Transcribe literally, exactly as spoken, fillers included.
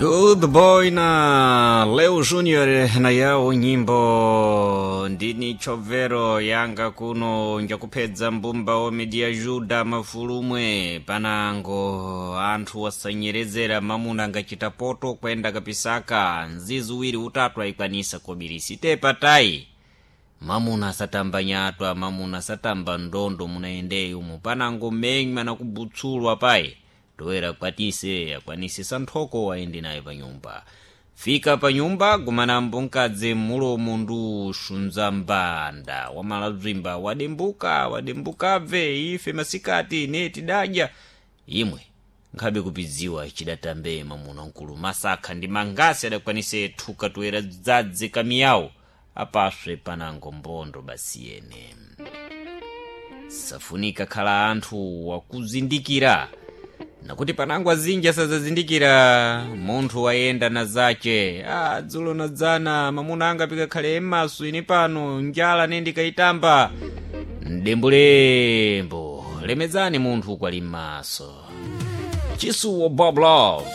Good boy na Leo Junior na yawo nyimbo ndini chovero yanga kuno njakupedza mbumba wa media juda mafulumwe panango anthu wasanyerezera mamuna angachita poto kwenda kapisaka nzizi uwiri utatu aikwanisa kobirisi tepatai mamuna asatamba nyatwa mamuna asatamba ndondo munaendeyi umu panango menywa na kubutsulwa payi toera kwatise akwanise santhoko waende naye panyumba fika panyumba gumanambo mkadzi mulomo ndu xunza mbanda wamalabzimba wadembuka wadembukabve ife masikati ne tidadya imwe nkhabe kupidziwa chidatambe mamuna mkulu masakha ndi mangasi adakwanise thuka toera dzadzi kamiyawo apaswe panango mbondo basi yene safunika khala anthu wakuzindikira nakuti panango azinji asazazindikira munthu wayenda na zace ah, dzulo na dzana mamuna anga pikakhale emaso ine pano njala ne ndikayitamba mdembulembo lemedzani munthu kwali m'maso chisuwo bob love.